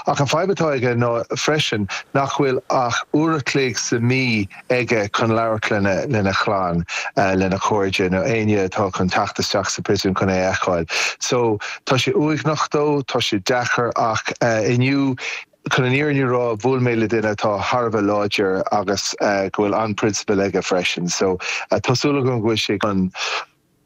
Ach an fadhb atá aige ná freisin nach bhfuil ach uair a chloig sa mí aige chun labhairt lena lena chlann, lena chairde nó éinne atá chun teacht isteach sa phríosún chun é a fheiceáil. So tá sé uaigneach dó, tá sé deacair ach inniu, chun an fhírinne a rá, bhuail mé le duine atá thar a bheith láidir agus go bhfuil an-prionsabal aige freisin. So tá súil agam go bhfuil sé chun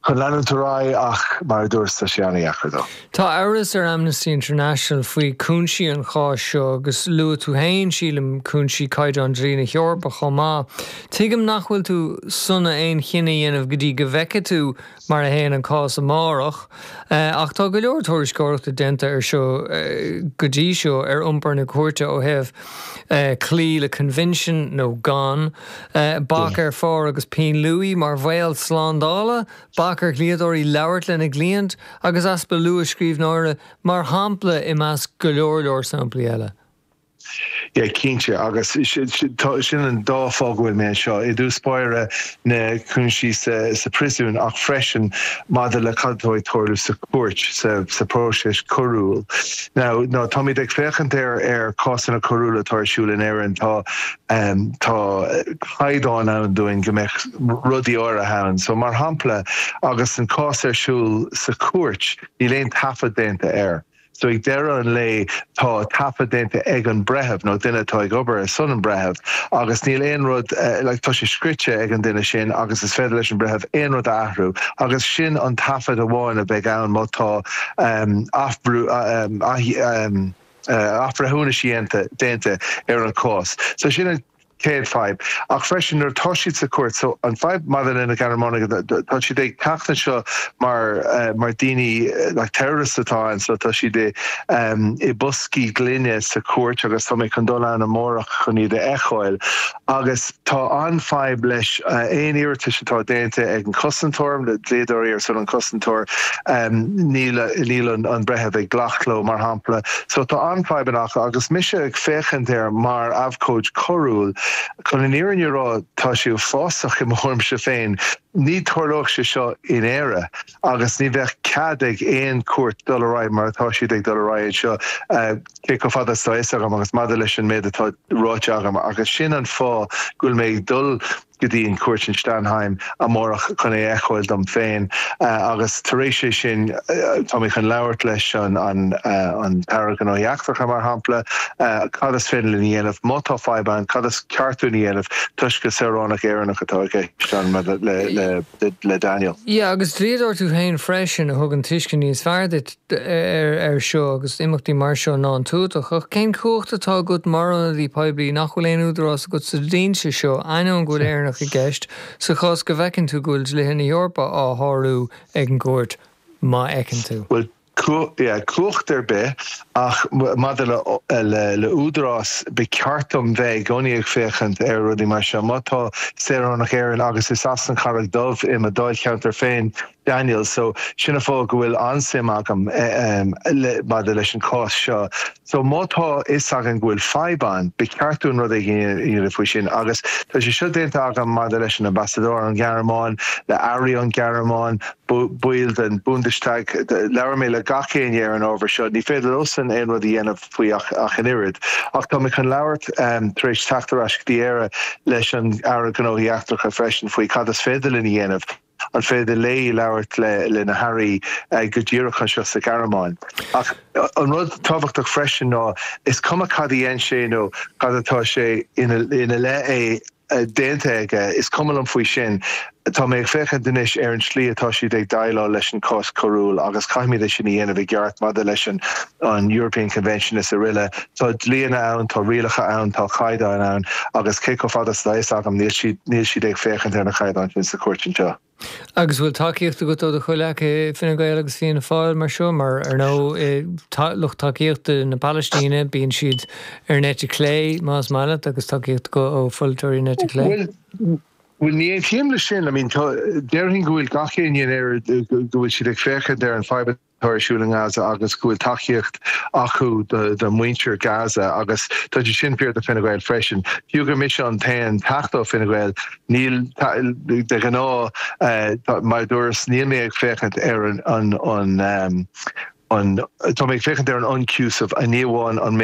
chun leanúint ar aghaidh ach, mar a dúras, tá sé an-dheacair dó. Tá amhras ar Amnesty International faoi chúinsí an cháis seo agus luaigh tú féin, sílim, cúinsí caighdeán dlí na hEorpa chomh maith. Tuigim nach bhfuil tú sona aon chinneadh a dhéanamh go dtí go bhfeicfidh tú mar a théann an cás amárach, ach tá go leor tuairisceoireachta déanta air seo go dtí seo ar iompar na cúirte ó thaobh cloí le coinbhinsiún nó gan. Bac ar phár agus pinn luaidhe mar bhaol slándála, bac ar dhlíodóirí labhairt lena gcliaint agus easpa luathscríbhneora mar shampla i measc go leor leor samplaí eile. Yeah, cinnte, agus sin an dá fáth go bhfuil mé anseo. I dtús báire na cúinsí sa phríosún ach freisin maidir le cad atá ag tarlú sa chúirt, sa próiseas coiriúil. Now, táimid ag féachaint ar ar cásanna coiriúla atá ar siúl in Éirinn, tá Tá caighdeán ann dúinn go mbeadh rudaí áirithe ann. So, mar shampla, agus an cás ar siúl sa chúirt, níl aon taifead déanta air. So, ag deireadh an lae, tá taifead déanta ag an breitheamh, nó duine atá ag obair ar son an bhreithimh, agus níl aon rud, like, tá sé scrite ag an duine sin agus is féidir leis an breitheamh aon rud a athrú. Agus sin an taifead amháin a bheidh ann má tá athbhrú, ath, athbhreithiúnais dhéanta déanta ar an chás. So sin an chéad fadhb. Ach freisin nuair atá siad sa chúirt, so an fadhb maidir le na Gearmánaigh, tá siad ag teacht anseo mar mar daoine like terrorists atá ann, so tá siad i i boscaí gloine sa chúirt agus tá mé chun dul ann amárach chun iad a fheiceáil. Agus tá an-fhadhb leis aon iarratais atá déanta ag an chosantóir, na dlíodóirí ar son an chosantóir, níl níl an breitheamh ag glacadh leo, mar shampla. So tá an-fhadhbanna acu agus mise ag féachaint air mar abhcóid coiriúil, chun an fhírinne a rá, tá sé uafásach i mo thuairimse féin. Ní tarlódh sé seo in Éire agus ní bheadh cead ag aon chúirt dul ar aghaidh mar atá siad ag dul ar aghaidh anseo. cé chomh fada is atá fhios agam agus maidir leis an méid atá ráite agam agus sin an fáth go bhfuil mé ag dul go dtí an chúirt in Stammheim amárach chun é a fheiceáil dom féin agus tar éis é sin tá mé chun labhairt leis an an tAire Gnóthaí Eachtracha mar shampla cad is féidir linn a dhéanamh má tá fadhb ann cad is ceart dúinn a dhéanamh toisc gur saoránach Éireannach atá i gceist ann maidir le le Daniel. Yeah agus dlíodóir tú féin freisin a thugann tuiscint níos fearr duit air seo agus imeachtaí mar seo ná an tuatach. Ach cén chumhacht atá agat mar ionadaí poiblí nach bhfuil aon údarás agat sa dlínse seo, ainneoin go bhfuil Éireannach i gceist, sa chás go bhfeiceann tú go bhfuil dlíthe na hEorpa á shárú ag an gcúirt, má fheiceann tú? Bhuel, yeah, cumhacht ar bith, ach maidir le le údarás, ba cheart dom bheith i gcónaí ag féachaint ar rudaí mar seo. Má tá saoránach Éireann, agus is as an Charraig Dhubh i mo dáilcheantar féin, Daniel, So, sin an fáth go bhfuil an-suim agam maidir leis an cás seo. So, má tá fhios againn go bhfuil fadhb ann, ba cheart dúinn rud éigin a dhéanamh faoi sin. Agus tá sé seo déanta agam maidir leis an ambasadóir ón Ghearmáin, le airí ón Ghearmáin, baill den Bundestag. Labhair mé le gach éinne ar an ábhar seo. Ní féidir leosan aon rud a dhéanamh faoi ach an oiread. Ach tá mé chun labhairt, tar éis teacht ar ais go dtí Éire, leis an Aire Gnóthaí Eachtracha freisin faoi cad is féidir linn a dhéanamh. An féidir léi labhairt le na hairí go díreach anseo sa Ghearmáin? Ach an rud tábhachtach freisin ná is cuma cad a dhein sé nó cad atá sé ina leith é déanta aige, is cuma liom faoi sin. Tá mé ag féachaint anois ar an tslí atá siad ag déileáil leis an cás coiriúil agus caithfimid é sin a dhéanamh i gceart maidir leis an European Convention is araile. Tá dlíonna ann, tá rialacha ann, tá caighdeáin ann agus cé chomh fada is atá fhios agam níl siad, níl siad ag féachaint ar na caighdeáin sin sa chúirt anseo. Agus bhfuil tacaíocht agat ó do chomhleacaithe i Fine Gael agus Fianna Fáil mar seo? Mar, ar ndóigh, lucht tacaíochta na Palaistíne, bíonn siad ar an eite chlé, más maith leat, agus tacaíocht acu ó pholaiteoirí na eite clé. Bhuel, bhuel, ní aontaím leis sin. I mean, tá, déarfainn go bhfuil gach éinne in Éirinn, go bhfuil siad ag féachaint ar an fadhb atá ar siúl i nGaza agus go bhfuil tacaíocht acu do mhuintir Gaza agus tá sé sin fíor do Fine Gael freisin. Fiú gur mise an t-aon Teachta ó Fine Gael, níl, de ghnáth, mar a dúras, níl mé ag féachaint ar an an. an, tá mé ag féachaint ar an ionchúiseamh, ní amháin an.